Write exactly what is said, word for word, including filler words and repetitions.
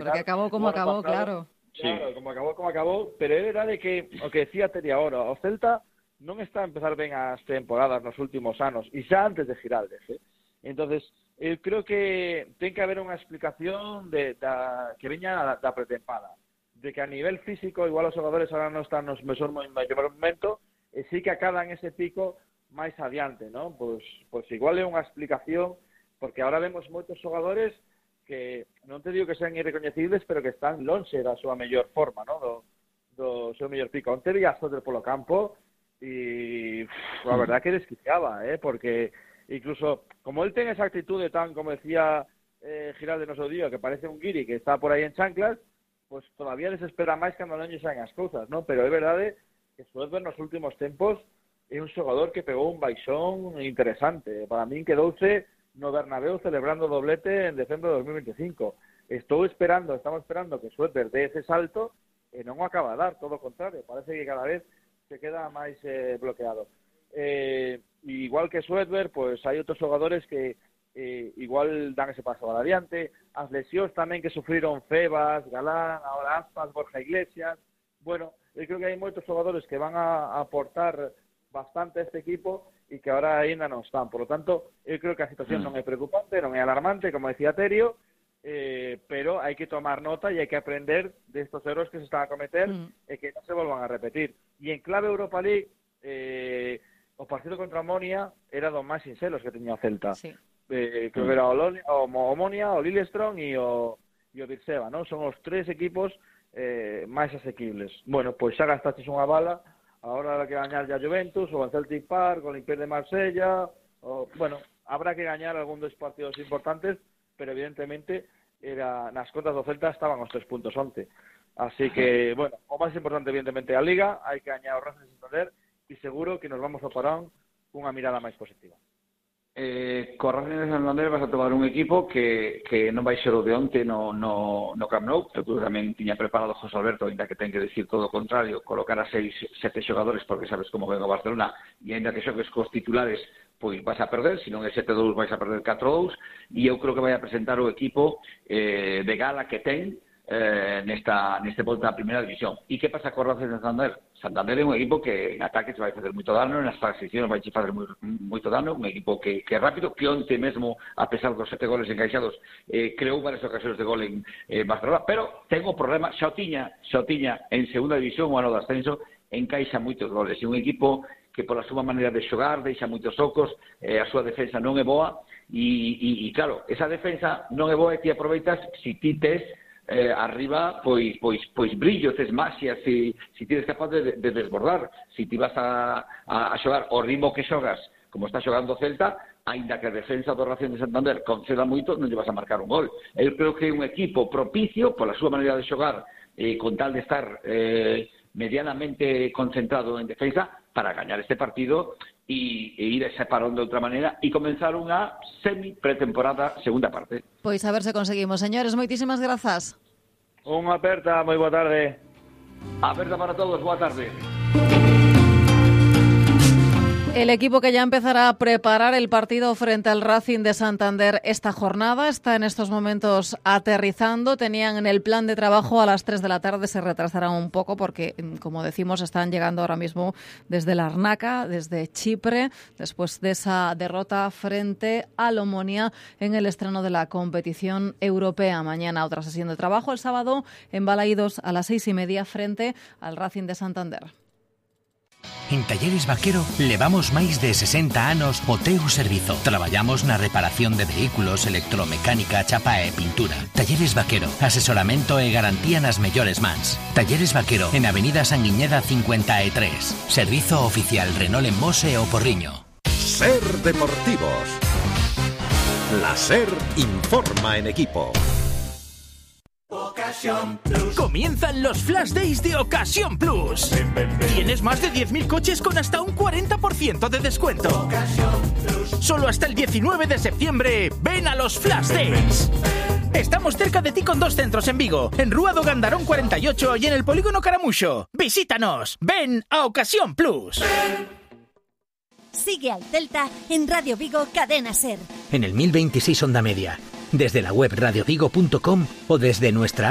Porque acabou como acabou, claro. Claro, sí. como acabou, como acabou, pero é verdade que o que decía Teri agora, o Celta non está a empezar ben as temporadas nos últimos anos, e xa antes de Giraldes, eh? Entonces, eu creo que ten que haber unha explicación de, da, que veña da, da pretempada, de que a nivel físico, igual os xogadores ahora non están nos mejor momento, e sí que acadan ese pico máis adiante, ¿no? Pois, pois igual é unha explicación, porque ahora vemos moitos xogadores que non te digo que sean irrecoñecibles, pero que están lonxe da súa mellor forma, ¿no? Do, do seu mellor pico. Onte vi a Soter polo campo e pff, a verdad que desquiciaba, ¿eh? Porque incluso, como él ten esa actitude tan, como decía eh, Giraldes no seu día, que parece un guiri que está por aí en chanclas, pues todavía desespera máis cando non lle saen as cousas, ¿no? Pero é verdade que Soter nos últimos tempos é un xogador que pegou un baixón interesante. Para min quedouse no Bernabéu celebrando doblete en decembro de dos mil veinticinco. Estou esperando, estamos esperando que Soter dé ese salto e non o acaba de dar, todo o contrario, parece que cada vez se queda máis eh, bloqueado. Eh, igual que Soter, pues hai outros xogadores que eh, igual dan ese paso adiante, as lesións tamén que sufriron Febas, Galán, ahora Aspas, Borja Iglesias. Bueno, eu creo que hai moitos xogadores que van a aportar bastante a este equipo e que ahora ainda non están. Por lo tanto, eu creo que a situación non é preocupante, non é alarmante, como decía Terio, eh, pero hai que tomar nota e hai que aprender destos erros que se están a cometer mm. e que non se volvan a repetir. E en clave Europa League, eh, o partido contra Omonia era dos máis sinceros que teña o Celta. Sí. Eh, creo que era o, Loli, o Omonia, o Lillestrøm e o, e o Virseva, ¿no? Son os tres equipos eh, máis asequibles. Bueno, pois xa gastaches unha bala. Ahora habrá que gañar ya Juventus, o en Celtic Park, o Olympique de Marsella, o, bueno, habrá que gañar algún dos partidos importantes, pero evidentemente era, nas contas do Celta estaban os tres puntos onte. Así que, bueno, o máis importante evidentemente a Liga, hai que gañar o Racing de Santander, e seguro que nos vamos a parón cunha mirada máis positiva. Eh, co Racing de Santander vas a tomar un equipo que, que non vai ser o de onte no, no, no Camp Nou. Eu tamén tiña preparado José Alberto, ainda que ten que decir todo o contrario, colocar a seis, sete xogadores, porque sabes como ven o Barcelona, e ainda que xogues cos titulares, pois vas a perder, se non é sete dous vais a perder catro dous, e eu creo que vai a presentar o equipo eh, de gala que ten eh, nesta, neste volta a primeira división. E que pasa co Racing de Santander? Santander é un equipo que en ataque se vai facer moito dano, nas transicións vai facer moi, moito dano, un equipo que, que é rápido, que onte mesmo, a pesar dos sete goles encaixados, eh, creou varias ocasións de gol en eh, Barcelona, pero ten o problema, xa o tiña, xa o tiña en segunda división, o ano de ascenso, encaixa moitos goles, e un equipo que pola súa maneira de xogar, deixa moitos ocos, eh, a súa defensa non é boa, e, e, e claro, esa defensa non é boa e ti aproveitas se ti tes Eh, arriba, pois, pois, pois brillo, tes maxia, se, se ti eres capaz de, de desbordar, se ti vas a, a, a xogar o ritmo que xogas, como está xogando o Celta, aínda que a defensa do Racing de Santander conceda moito, non lle vas a marcar un gol. Eu creo que é un equipo propicio, pola súa maneira de xogar, eh, con tal de estar eh, medianamente concentrado en defensa, para gañar este partido e, e ir a ese parón de outra maneira e comenzar unha semi-pretemporada segunda parte. Pois a ver se conseguimos. Señores, moitísimas grazas. Unha aperta, moi boa tarde. Aperta para todos, boa tarde. El equipo que ya empezará a preparar el partido frente al Racing de Santander esta jornada está en estos momentos aterrizando. Tenían en el plan de trabajo a las tres de la tarde, se retrasarán un poco porque, como decimos, están llegando ahora mismo desde Larnaca, desde Chipre, después de esa derrota frente al Omonia en el estreno de la competición europea. Mañana otra sesión de trabajo, el sábado en Balaídos a las seis y media frente al Racing de Santander. En Talleres Vaquero levamos máis de sesenta anos o teu servizo. Traballamos na reparación de vehículos, electromecánica, chapa e pintura. Talleres Vaquero, asesoramento e garantía nas mellores mans. Talleres Vaquero, en Avenida Sanguiñeda cincuenta e tres. Servizo oficial Renault en Mose o Porriño. Ser Deportivos. La SER informa en equipo. Ocasión Plus. Comienzan los Flash Days de Ocasión Plus. Ven, ven, ven. Tienes más de diez mil coches con hasta un cuarenta por ciento de descuento. Ocasión Plus. Solo hasta el diecinueve de septiembre. Ven a los Flash Days. Ven, ven. Estamos cerca de ti con dos centros en Vigo, en Rúa do Gandarón cuarenta y ocho y en el Polígono Caramuxo. Visítanos. Ven a Ocasión Plus. Ven. Sigue al Celta en Radio Vigo Cadena SER. En el mil veintiséis Onda Media. desde la web radio vigo punto com o desde nuestra app